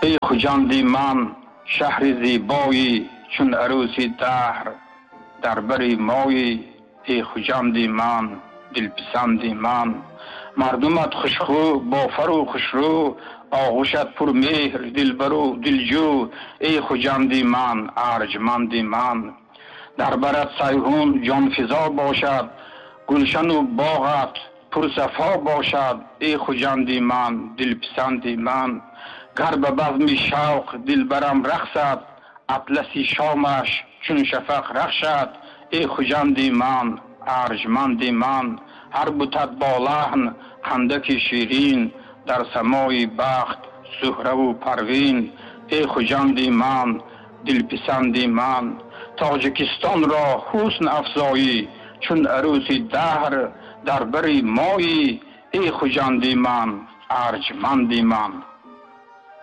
Эй Хуҷанди ман, шаҳри зебоӣ, чун арӯси даҳр дар бари моӣ. Эй Хуҷанди ман, дилписанди ман, мардумат хушхӯ, бофару хушрӯ, оғӯшат пурмеҳр, дилбару дилҷӯ. Эй Хуҷанди ман, арҷманди ман, дар барат Сайҳун ҷонфизо бошад, гулшану боғат пурсафо бошад. Эй Хуҷанди ман, дилписанди ман, гар ба базми шавқ дилбарам рақсад, атласи шомаш чун шафақ рахшад. Эй Хуҷанди ман, арҷманди ман, ҳар бутат бо лаҳн қандаки ширин, дар самои бахт Зуҳраву Парвин. Эй Хуҷанди ман, дилписанди ман, Тоҷикистонро ҳусн афзоӣ, чун арӯси даҳр дар бари моӣ. Эй Хуҷанди ман, арҷманди ман.